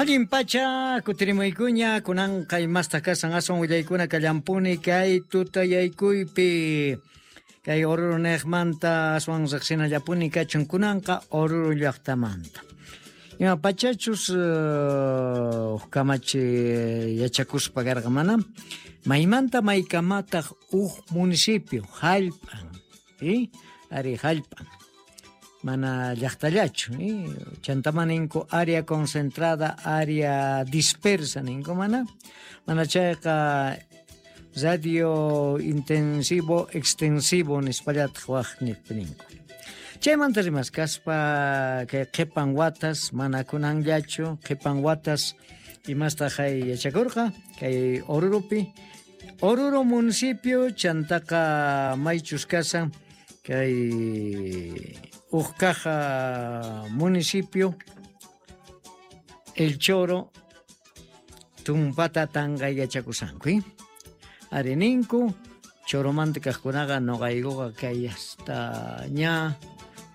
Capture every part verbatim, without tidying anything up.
Allin pacha kutirimuykuña kunanqa imastaq kasan aswan willaykuna kallampuni kay tutayaykuypi kay Oruro niqmanta aswan riqsinallapuni kachun kunanqa Oruro llaqtamanta. Ima pachachus uh, kamachi yachakuspa karqa mana maymanta maykamataq uj municipio hallp'an i ari hallp'an mana llaqtallachu eh? Chantama ninku área concentrada, área dispersa ninku mana mana chayqa radio intensivo extensivo nispallataq waq ninku. Chaymanta rimaskaspa kay qhipan watas mana kunanllachu qhipan watas imastaq hay yachakurqa kay Oruropi Oruro municipio chantaqa maychus kasan kay Ujcaja municipio El Choro tumpata tanga yachakusanku eh? Ari ninku Choromanta kaqkunaqa noqaykuqa kay hasta ña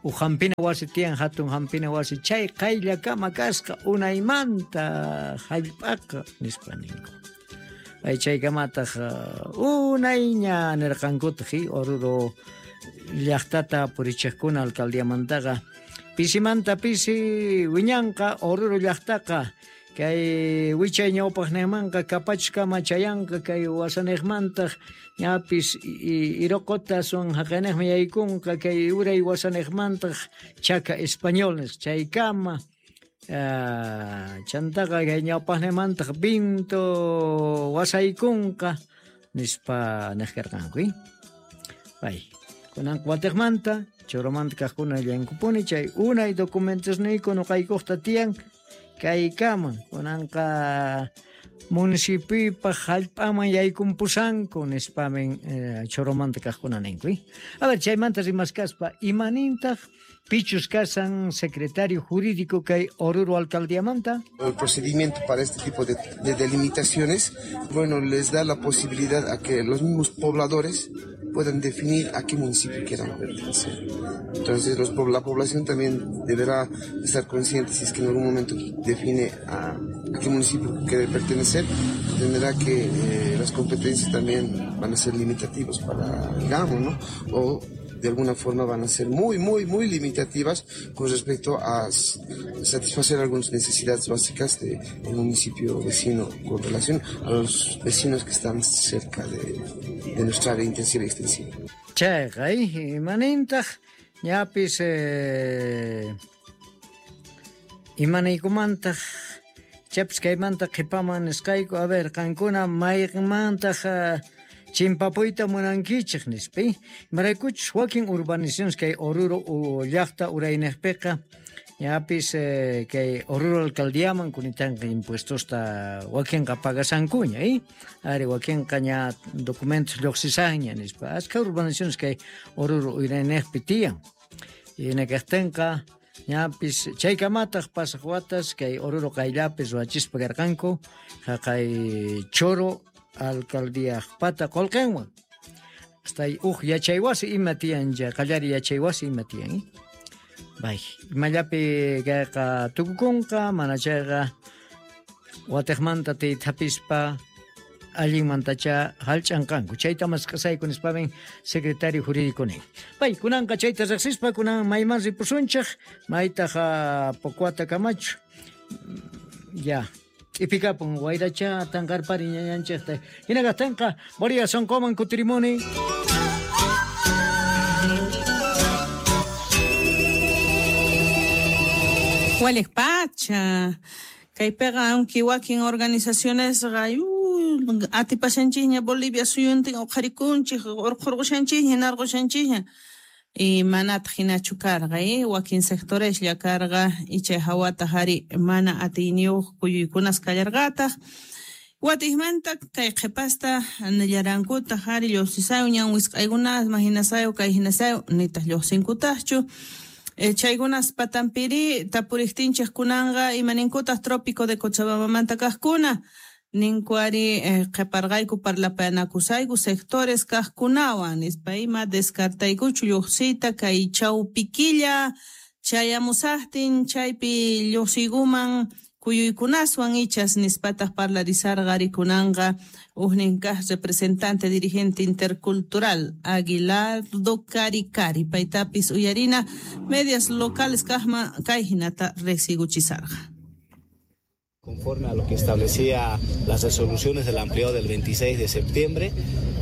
ujampina wasi tiyan hatun hampina wasi chay qayllakama kasqa unaymanta hallp'aqa nispa ninku. Ay chaykamataq unayña nirqankutaq Oruro llaqtata purichiqkuna alcaldiamantaqa pisimanta pisi wiñanqa Oruro llaqtaqa kay wichay ñawpaqninmanqa kapachkama chayanqa kay wasaniqmantaq ñapis Iroqota son haqaniqmi yaykunqa kay uray wasaniqmantaq Chaca Español nisqa chaykama uh, chantaqa kay ñawpaqninmantaq Vinto wasaykunqa nispa niq karqanku eh? Bay kunan watiqmanta Choromanta kaqkuna llankupuni chay unay documentosniyku nuqaykuqta tiyan kaykaman kunanqa municipiopa hallp'aman yaykumpusanku nispamin eh, Choromanta kaqkuna ninku eh? A ver chaymanta rimaskaspa imanintaq pichus kasan secretario jurídico kay Oruro alcaldiamanta. El procedimiento para este tipo de, de delimitaciones, bueno, les da la posibilidad a que los mismos pobladores puedan definir a qué municipio quieran pertenecer. Entonces los, la población también deberá estar consciente si es que en algún momento define a, a qué municipio quiere pertenecer, tendrá que eh, las competencias también van a ser limitativas para el gamo, ¿no? O de alguna forma van a ser muy, muy, muy limitativas con respecto a satisfacer algunas necesidades básicas del de municipio vecino con relación a los vecinos que están cerca de, de nuestra área intensiva y extensiva. Chayqa, imanintaq ñapis eh, imanaykumantaq chapis kaymanta qhipaman nisqayku a ver qankuna mayqinmantaq uh, chimpapuyta munankichik nispa imaraykuchus wakin urbanizaciones kay Oruro llaqta urayniqpiqa ñapis eh, kay Oruro alcaldiaman kunitanqa impuestosta wakinqa pagasankuña eh? Ari wakinqa ña documentos lluqsisanña nispa askha urbanizaciones kay Oruro urayniqpi tiyan hinakaqtinqa ñapis chaykamataq pasaq watas kay Oruro qayllapi ruwachispa karqanku haqay Choro alcaldíaqpata qullqinwan hasta uj yachaywasi ima tiyan qallari yachaywasi ima tiyan eh? Bay imallapi kayqa tukukunqa mana chayqa watiqmanta tiythapispa allinmantacha hallch'anqanku chayta mask'asayku nispamin secretario jurídico nin. Bay kunanqa chayta riqsispa kunan mayman ripusunchik maytaq Pocuata kamachu ya Ipikapun wayracha tanqarpari ñañanchikta hinakaqtinqa Boria sonqoman kutirimuni. Waliq pacha kaypiqa aunque wakin organizaciones atipashanchikña Bolivia suyuntin uqharikunchik urqhurqushanchikña narqushanchikña y manataq hinachu karqa eh? Wakin sectoreslla karqa y chay hawataq ari mana atiyniyuq kuyuykunas kallarqataq watiqmanta kay qhipasta nillarankutaq ari lluqsisayu ñan wisq'aykunasman hinasayu kay hinasayu nitaq lluqsinkutaqchu eh, chaykunas patampiri tapuriqtinchik kunanqa imaninkutaq trópico de Cochabambamanta kaqkuna ninku ari eh, qhiparqayku parlapanakusayku sectores kaqkunawan nispa ima descartaykuchu lluqsiyta kay chawpikilla chayamusaqtin chaypi lluqsiykuman kuyuykunaswan ichas nispataq parlarisarqa rikunanqa ujnin kaq representante dirigente intercultural Aguilardo Karikari paytapis uyarina medias locales kaqman kay hinata riqsiguchisarqa. Conforme a lo que establecía las resoluciones del ampliado del veintiséis de septiembre,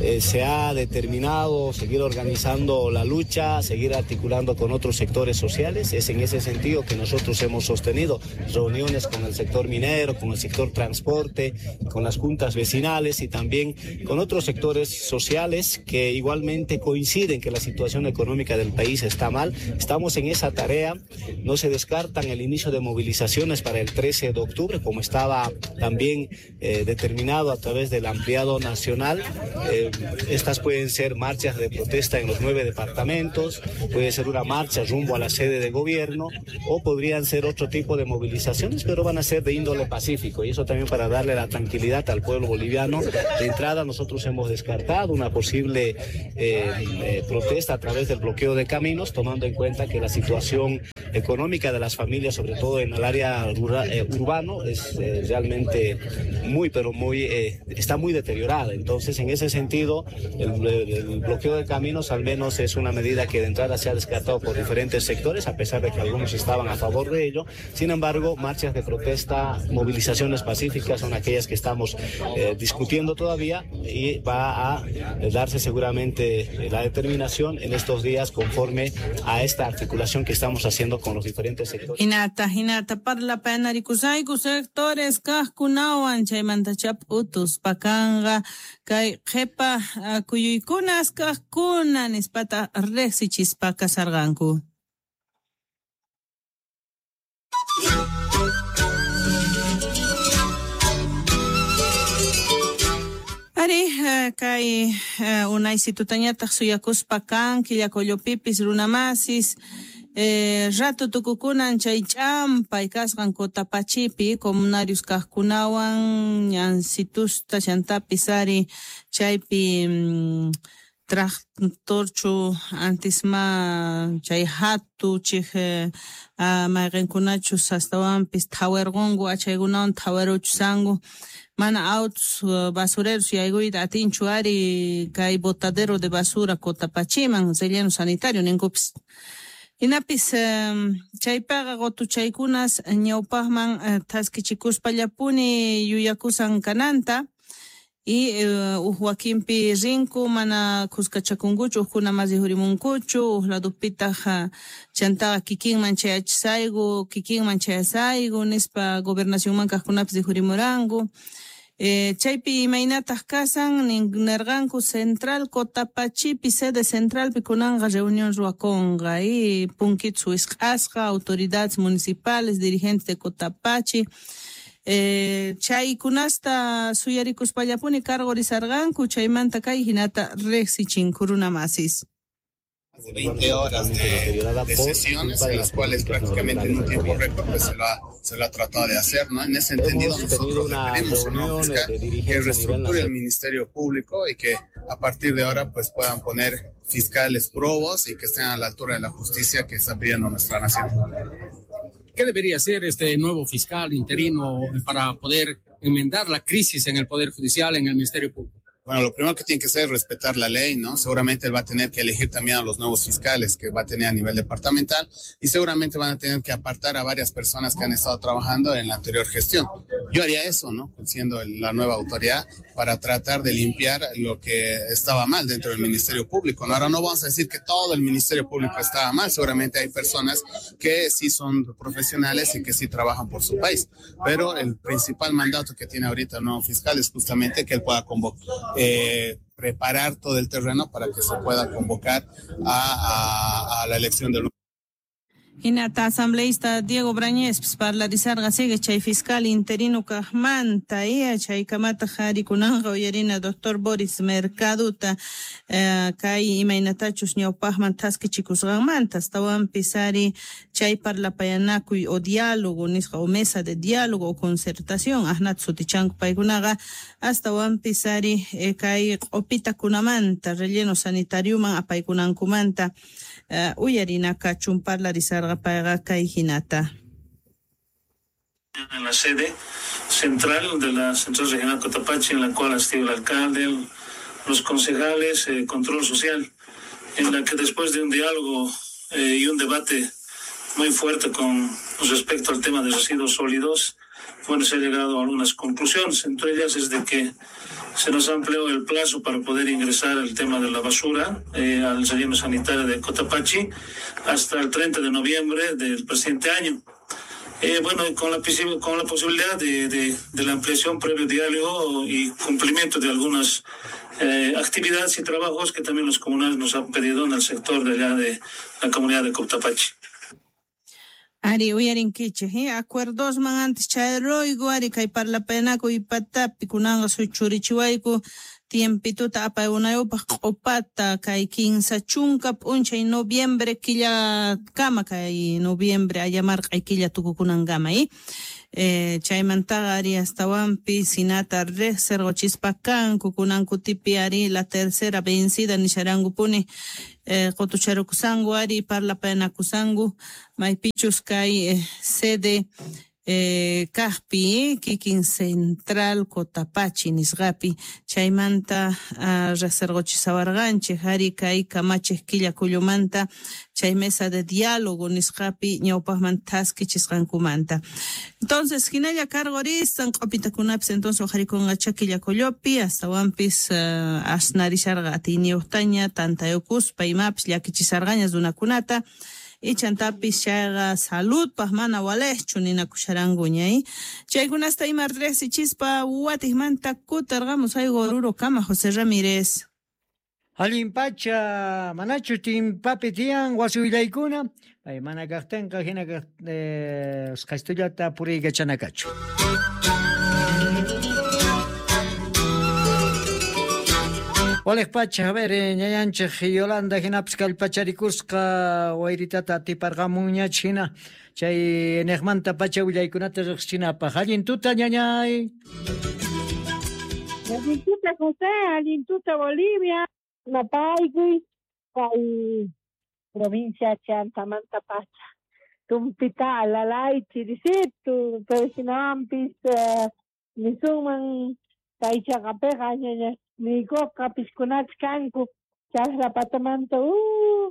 eh, se ha determinado seguir organizando la lucha, seguir articulando con otros sectores sociales. Es en ese sentido que nosotros hemos sostenido reuniones con el sector minero, con el sector transporte, con las juntas vecinales y también con otros sectores sociales que igualmente coinciden que la situación económica del país está mal. Estamos en esa tarea, no se descartan el inicio de movilizaciones para el trece de octubre, como estaba también eh, determinado a través del ampliado nacional. Eh, estas pueden ser marchas de protesta en los nueve departamentos, puede ser una marcha rumbo a la sede de gobierno o podrían ser otro tipo de movilizaciones, pero van a ser de índole pacífico, y eso también para darle la tranquilidad al pueblo boliviano. De entrada nosotros hemos descartado una posible eh, eh, protesta a través del bloqueo de caminos, tomando en cuenta que la situación económica de las familias, sobre todo en el área rural, eh, urbano, es eh, realmente muy, pero muy, eh, está muy deteriorada. Entonces, en ese sentido, el, el bloqueo de caminos al menos es una medida que de entrada se ha descartado por diferentes sectores, a pesar de que algunos estaban a favor de ello. Sin embargo, marchas de protesta, movilizaciones pacíficas son aquellas que estamos eh, discutiendo todavía, y va a darse seguramente la determinación en estos días conforme a esta articulación que estamos haciendo con los diferentes sectores. Hinata, hinata, parlapanarikusayku sectores kaqkunawan chaymanta chap'utus pakanqa kay qhipa kuyuykunas kaqkuna nispata riqsichispa kasarqanku. Ari, kay unaysitutañataq suyakuspa kan Quillacollopipis runamasis Eh, rato tukukunan chay ch'ampay kasqan Cotapachipi comunarios kaqkunawan ñansitusta chantapis ari chaypi mm, tractorchu antisma chay hatu chij eh, mayqinkunachus astawanpis thawarqunku achaykunawan thawaruchusanku mana autos basureros yaykuyta atinchu ari kay botadero de basura Cotapachiman relleno sanitario ninkupis. Hinapis chaypaqa qutuchaykunas ñawpaqman thaskichikuspallapuni yuyakusan kananta y uj wakinpi rinku mana kuskachakunkuchu ujkuna mas rihurimunkuchu uj ladupitaq chantaqa kikinman chayachisayku kikinman chayasayku nispa gobernacionman kaqkunapis rihurimuranku. Eh, chaypi imaynataq kasan nirqanku central Cotapachipi sede centralpi kunanqa reunión ruwakunqa y punkitsu wisq'asqa autoridades municipales dirigentes de Cotapachi eh, chaykunasta suyarikuspallapuni cargorizarqanku chaymanta kay hinata riqsichinku runamasis. De veinte horas de, de sesiones en las cuales prácticamente en un tiempo récord pues se lo ha, se lo ha tratado de hacer, ¿no? En ese entendido nosotros le pedimos a un nuevo fiscal que reestructure el Ministerio Público y que a partir de ahora pues puedan poner fiscales probos y que estén a la altura de la justicia que está pidiendo nuestra nación. ¿Qué debería hacer este nuevo fiscal interino para poder enmendar la crisis en el Poder Judicial, en el Ministerio Público? Bueno, lo primero que tiene que hacer es respetar la ley, ¿no? Seguramente él va a tener que elegir también a los nuevos fiscales que va a tener a nivel departamental y seguramente van a tener que apartar a varias personas que han estado trabajando en la anterior gestión. Yo haría eso, ¿no? Siendo la nueva autoridad para tratar de limpiar lo que estaba mal dentro del Ministerio Público, ¿no? Ahora no vamos a decir que todo el Ministerio Público estaba mal, seguramente hay personas que sí son profesionales y que sí trabajan por su país, pero el principal mandato que tiene ahorita el nuevo fiscal es justamente que él pueda convocar, Eh, preparar todo el terreno para que se pueda convocar a, a, a la elección del Hinata asambleísta Diego Brañez parlarizarqa sigue chay fiscal interino kaqmanta y chay kamata harikunanqa uyarina doctor Boris Mercaduta eh, kay imaynatachus ñawpaqman thaskichikusqanmanta astawanpis ari chay parlapayanakuy o diálogo nisqa o mesa de diálogo o concertación asnata sutichanku paykunaqa astawanpis ari eh, kay q'upitakunamanta relleno sanitarioman apaykunankumanta uh, uyarina kachun parlarizarqa payqa kay hinata. En la sede central de la Central Regional Cotapachi, en la cual asistió el alcalde, los concejales, eh, control social, en la que después de un diálogo eh, y un debate muy fuerte con respecto al tema de residuos sólidos, bueno, se ha llegado a algunas conclusiones. Entre ellas es de que se nos amplió el plazo para poder ingresar el tema de la basura eh, al relleno sanitario de Cotapachi hasta el treinta de noviembre del presente año. Eh, bueno, con la, con la posibilidad de, de, de la ampliación previo diálogo y cumplimiento de algunas eh, actividades y trabajos que también los comunales nos han pedido en el sector de allá de la comunidad de Cotapachi. Ari uyarinkichej, eh? Acuerdosman antes chayaruyku, ari kay parlapaynakuy patapi kunanqa suchurichiwayku tiempituta apayunayupaq q'upata kay kinsa chunka p'unchay noviembre killakama kay noviembre ayamarq'ay killa tukukunankama, eh? Eh, chaymantaqa ari astawanpi sinata riqsirquchispa kanku kunankutipi ari la tercera vencida nisharankupuni eh, qutucharukusanku ari parlapaynakusanku maypichus kay eh, sede eh, kaqpi kikin Central Cotapachi nisqapi chaymanta uh, riqsirquchisawarqanchik ari kay kamachiq killa kullumanta chay mesa de diálogo nisqapi ñawpaqman thaskichisqankumanta. Entonces hinalla cargoristan q'upitakunapis entonces uqharikunqacha killa kullupi astawanpis uh, asnarisharqa atiyniyuqtaña tantayukuspa imapis llakichisarqaña runakunata ichantapis chayqa saludpaq mana waliqchu ninakusharankuña, eh? Chaykunasta ima riqsichispa watiqmanta kutarqamus ayku Oruro kama José Ramírez. Allin pacha, manachu timpapi tiyan wasi willaykuna, pay mana kaqtinqa hina kaq eh, usqhaystullata puriykachanakachu. Waliq pacha, a ver, ñayanchik Yolanda hinapis kallpacharikusqa wayritata atiparqamunñach hina chay niqmanta pacha willaykunata riqsichinapaq. Allin tuta, ñañay. Allin tuta, José, allin tuta, Bolivia. Napaykuy kay provincia Chantamanta pacha. Tumpita alalay chirisitu, pero hinawanpis eh, nisunman kay chaqapiqa ñaña niykuqa piskunachik kanku chaqra patamanta uh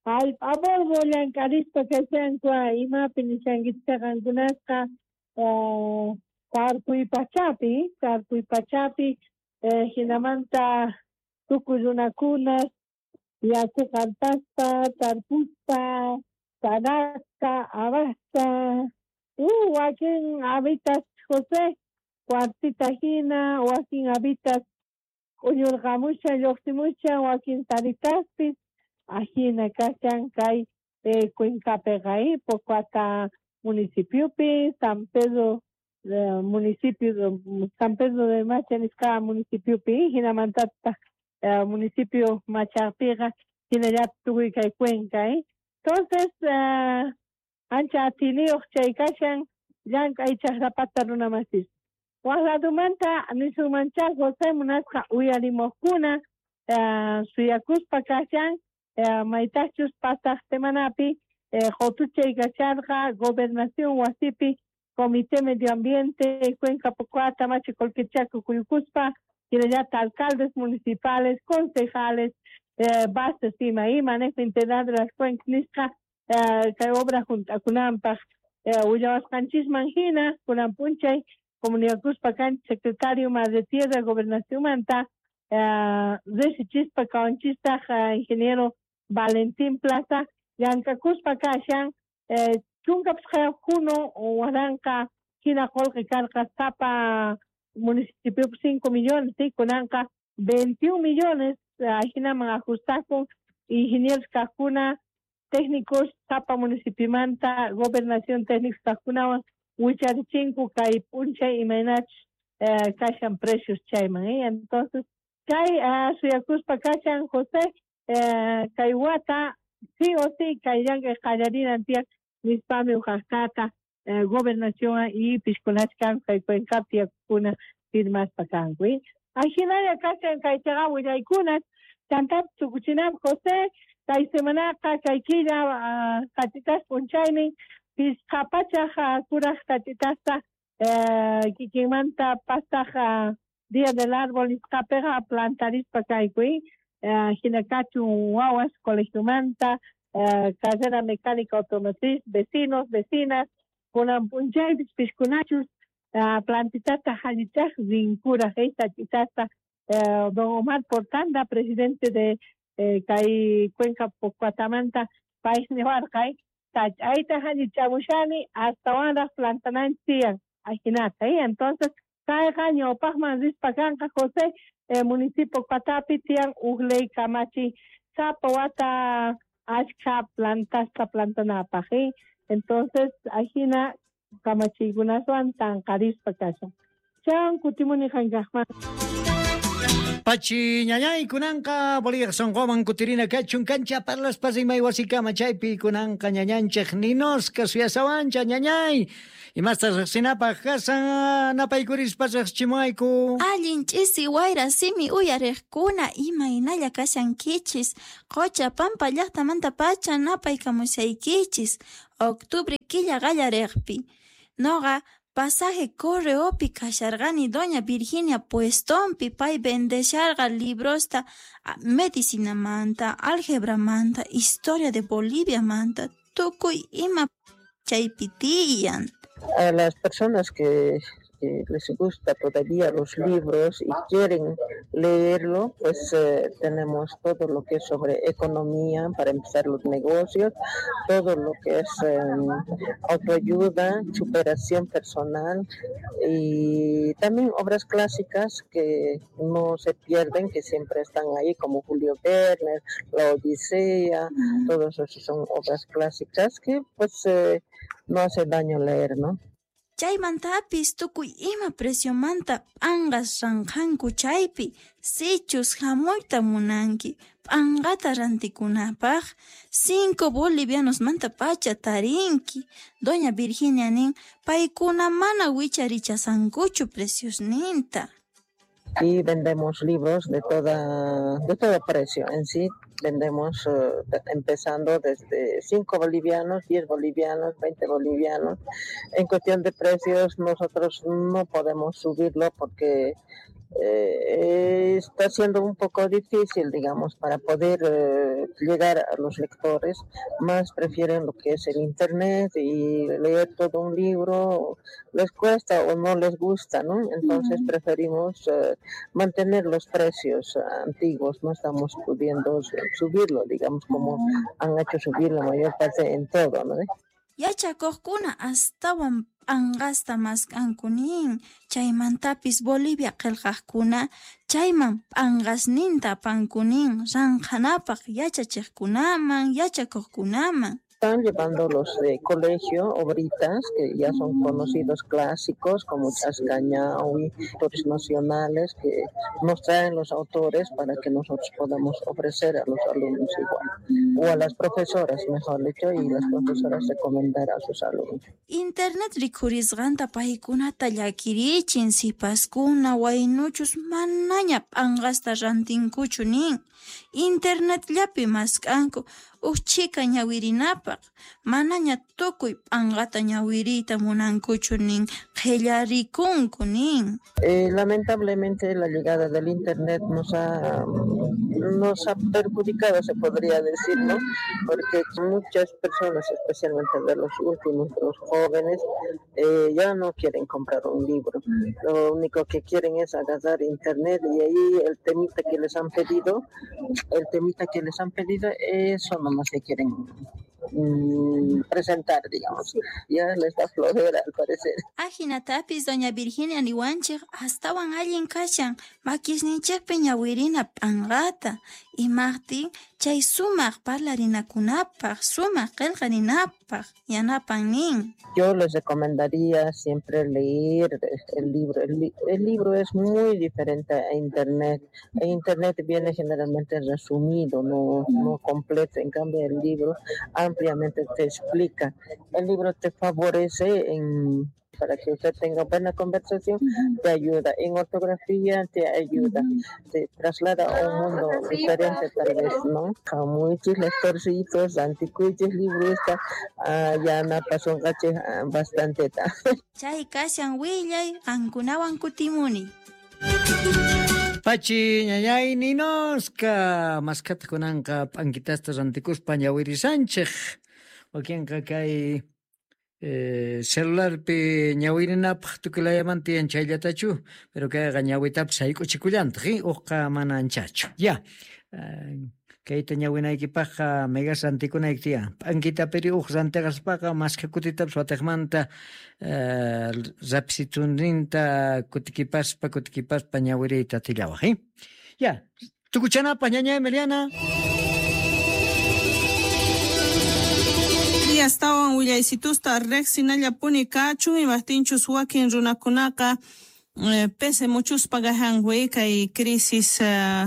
hallp'abordo llank'arispa kashanku imapi nishankichik qankunasqa uh, tarpuy pachapi tarpuy pachapi eh, hinamanta tukuy runakunas yaku qantaspa tarpuspa sarasqa abasqa uh wakin habitas José cuartita hina wakin habitas k'uñurqamushan lluqsimushan wakin taritaspis ajina kashan kay eh, Cuencapiqa eh, Pocoata municipiopi San Pedro eh, municipio San Pedro de Macha nisqa municipiopi hinamantataq eh, municipio Machaqpiqa hinallata tukuy kay Cuenca, eh. Entonces eh, ancha atiniyuq chay kashan llank'ay chaqrapata runamasis. Waq ladumanta nisunmancha José munasqa uyarimuqkuna eh, suyakuspa kashan eh, maytachus pasaq semanapi eh, qutuchay kasharqa gobernación wasipi Comité Medio Ambiente Cuenca Pocoata Machi Colquechaco kuyukuspa hinallata alcaldes municipales, concejales, eh, bases ima ima manejo integral de las cuencas nisqa eh, kay obra juntakunanpaq eh, willawasqanchisman hina kunan p'unchay comunicakuspa kanchik secretario Madre Tierra Gobernación manta eh, riqsichispa kawanchistaj eh, ingeniero Valentín Plaza llank'akuspa kashan eh, chunka pisqayuq juno waranqa hina qullqi karqa sapa municipio cinco millones, ¿sí? Kunanqa veintiún millones ajinaman ajustakun ingenieros kaqkuna técnicos sapa municipiomanta gobernación técnicos kaqkunawan wicharichinko kay p'unchay imaynachus eh, kashan precios chayman, eh? Entonces kay uh, suyakuspa kashan José eh, kay wata sí o sí kay llank'ay qallarinan tiyan nispami uqaqtata eh, gobernación y piskunach kanku kay Cuencapi tiyakuna firmaspa kanku, eh? Ajinalla kashan kay chaqa willaykunas chantapis tukuchinapaq José kay semanaqa kay killa uh, qatitas p'unchaynin pisqa pachaq kuraq qatitasta Eh, kikinmanta pasaj Día del Árbol nisqapiqa plantarispa kayku, eh, hina kachun wawas colegiomanta, eh, carrera mecánica automotriz, vecinos, vecinas, kunan p'unchaypis piskunachus uh, plantitata hallichaj rinkuraj, eh, sach'itasta. Eh, don Omar Portanda, presidente de eh, kay Cuenca Pocuatamanta, pay niwarqa, sach'ayta hallichamushani astawanraj plantananchis tiyan, ajinata, eh? Entonces kayqa ñawpaqman rispa kanqa José, eh, municipio Patapi tiyan uj ley kamachi sapa wata achkha plantasta plantanapaj, eh? Entonces ajina kamachiykunaswan tanqarispa kashan. Chan kutimuni qankaqman. Pachi ñañay kunanqa Bolivia sonqoman kutirina kachun kancha parlaspa rimay wasikama chaypi kunanqa ñañanchej ninosqa suyasawancha ñañay imasta riqsinapaq kasan napaykurispa riqsichimuayku. Allin ch'isi wayra simi uyariqkuna imaynalla kashankichis Qocha Pampa llaqtamanta pacha napaykamushaykichis octubre killa qallariqpi. Noqa pasaje correopi kasharqani doña Virginia puestonpi pay vendesharqa librosta medicinamanta, algebramanta, historia de Boliviamanta, tukuy ima chaypi tiyan. A las personas que, que les gusta todavía los libros y quieren leerlo, pues eh, tenemos todo lo que es sobre economía para empezar los negocios, todo lo que es eh, autoayuda, superación personal y también obras clásicas que no se pierden, que siempre están ahí, como Julio Verne, La Odisea, todos esos son obras clásicas que pues eh, no hace daño leer, ¿no? Chaymantapis tukuy ima preciomanta p'anqas ranqhanku chaypi sichus hamuyta munanki p'anqata rantikunapaq cinco bolivianosmanta pacha tarinki. Doña Virginia nin paykuna mana wicharichasankuchu preciosninta. Y vendemos libros de toda de todo precio en sí. Vendemos eh, empezando desde cinco bolivianos, diez bolivianos, veinte bolivianos. En cuestión de precios nosotros no podemos subirlo porque eh, está siendo un poco difícil, digamos, para poder eh, llegar a los lectores. Más prefieren lo que es el internet y leer todo un libro les cuesta o no les gusta, ¿no? Entonces preferimos eh, mantener los precios antiguos, no estamos pudiendo subirlo, digamos, como han hecho subir la mayor parte en todo, ¿no? Yachakuqkuna astawan p'anqasta mask'anku nin, chaymantapis Bolivia qillqaqkuna chayman p'anqasninta apanku nin ranqhanapaq yachachiqkunaman yachakuqkunaman. Están llevando los de colegio, obritas, que ya son conocidos clásicos como Chascañahui, autores nacionales que nos traen los autores para que nosotros podamos ofrecer a los alumnos igual, o a las profesoras, mejor dicho, y las profesoras recomendar a sus alumnos. Internet rikhurisqanta paykunata llakirichin sipaskuna waynuchus manaña p'anqasta rantinkuchu nin. Internetllapi mask'anku uj chhika ñawirinapaq manaña tukuy p'anqata ñawiriyta munankuchu nin qhillarikunku nin. Eh, lamentablemente la llegada del internet nos ha nos ha perjudicado, se podría decir, ¿no? Porque muchas personas, especialmente de los últimos, de los jóvenes, eh, ya no quieren comprar un libro. Lo único que quieren es agarrar internet y ahí el temita que les han pedido, el temita que les han pedido, eso nomás se quieren mm, presentar, digamos. Ya les da flojera, al parecer. Ajinatapis doña Virginia niwanchej astawan allin kashan makisninchejpi ñawirina p'anqata imaqtin chay sumaq parlarinakunapaq sumaq qillqarinapaq yanapan nin. Yo les recomendaría siempre leer el libro. El, li el libro es muy diferente a internet. En internet viene generalmente resumido, no, no completo. En cambio, el libro ampliamente te explica. El libro te favorece en para que usted tenga buena conversación, te ayuda. En ortografía te ayuda. Te traslada a un mundo diferente tal vez, ¿no? Muchos lectorcitos, anticuchos, libros, ya na pasó bastante. Chay kashan willay, qankunawan kutimuni. Pachi ñañay ninoska maskata kunanqa p'ankitasta rantikuspa ñawirisanchej wakinqa kay eh, celularpi ñawirinapaj tukulayamanta tiyan chayllatachu pero kayqa ñawitapis sayk'uchikullantaq eh? Uqqa mana anchachu ya uh, kayta ñawinaykipaqqa megas rantikunayki tiyan p'ankitapiri uq rantiqaspaqa maskha kutitapis wataqmanta uh, rapsituninta kutikipaspa kutikipaspa ñawiriyta atillawaq eh? Ya tukuchanapaq ñañay Emiliana. Astawan willaysitusta riqsinallapuni kachun imajtinchus wakin runakunaqa eh, pese muchuspa gajanwi kay crisis uh,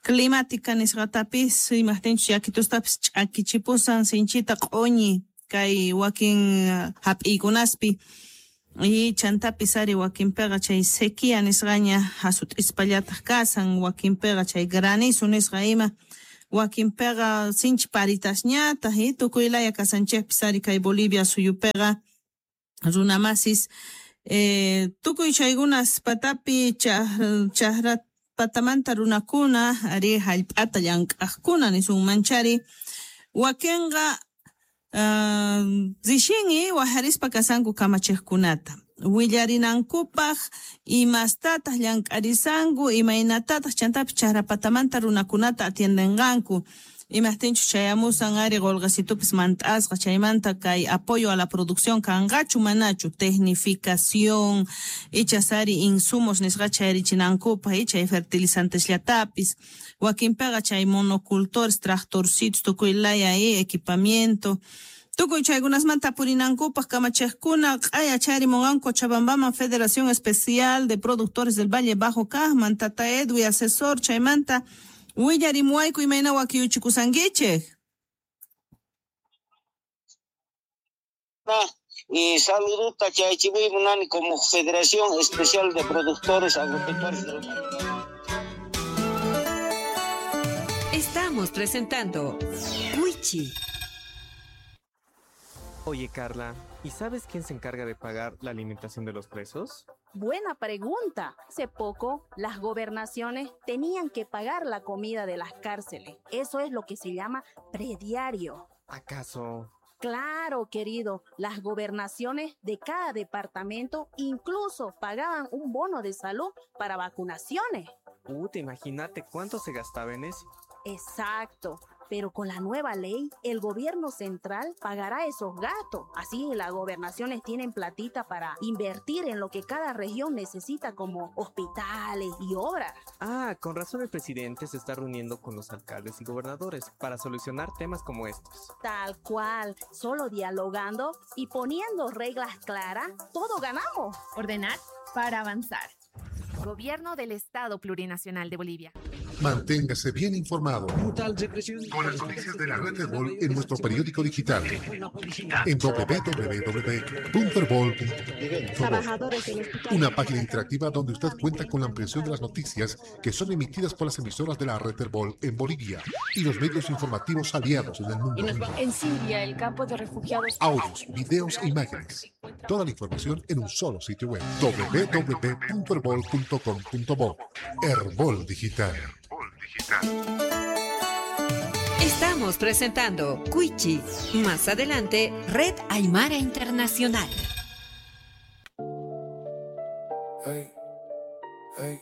climática nisqatapis imajtinchus yakitustapis ch'akichipusan sinchita q'uñi kay wakin uh, hap'iykunaspi y chantapis ari wakinpiqa chay sequía nisqaña hasut'ispallataq kasan wakinpiqa chay granizo nisqa ima wakinpiqa sinchi paritasñataq y tukuylaya kasanchikpis ari kay Bolivia suyupiqa runamasis eh, tukuy chaykunas patapi chaqra patamanta runakuna ari hallp'ata llank'aqkuna nisunmanchari wakinqa uh, rishin'i wajarispa kasanku kamachiqkunata willarinankupaq imastataq llank'arisanku imaynatataq chantapis chaqrapatamanta runakunata atiendenqanku imajtinchus chayamusan ari qolqesitupis mant'asqa chaymanta kay apoyo a la producción kanqachu manachu tecnificación ichas ari insumos nisqa chayarichinankupaq y chay fertilizantesllatapis wakinpiqa chay monocultores tractorcitos tukuylaya y equipamiento tukuy chaykunasmanta purinankupaq kamachiqkuna q'aya chayarimunqanku Cochabambaman Federación Especial de Productores del Valle Bajo kaqman tata Edwi asesor chaymanta willarimuwayku imayna wakiyuchikusankichik. Y saludota chaychimuy como Federación Especial de Productores Agropecuarios del Valle. Estamos presentando Wichi. Oye, Carla, ¿y sabes quién se encarga de pagar la alimentación de los presos? Buena pregunta. Hace poco, las gobernaciones tenían que pagar la comida de las cárceles. Eso es lo que se llama prediario. ¿Acaso? Claro, querido. Las gobernaciones de cada departamento incluso pagaban un bono de salud para vacunaciones. Uh, te imagínate cuánto se gastaba en eso. Exacto. Pero con la nueva ley, el gobierno central pagará esos gastos. Así las gobernaciones tienen platita para invertir en lo que cada región necesita, como hospitales y obras. Ah, con razón el presidente se está reuniendo con los alcaldes y gobernadores para solucionar temas como estos. Tal cual, solo dialogando y poniendo reglas claras, todo ganamos. Ordenar para avanzar. Gobierno del Estado Plurinacional de Bolivia. Manténgase bien informado con las noticias de la red Herbol en nuestro periódico digital en doble u doble u doble u punto herbol punto com. Una página interactiva donde usted cuenta con la ampliación de las noticias que son emitidas por las emisoras de la red Herbol en Bolivia y los medios informativos aliados en el mundo. En Siria, el campo de refugiados. Audios, videos e imágenes. Toda la información en un solo sitio web: doble u doble u doble u punto herbol punto com punto bo. Herbol Digital. Estamos presentando Cuichi. Más adelante, Red Aymara Internacional. Hey, hey.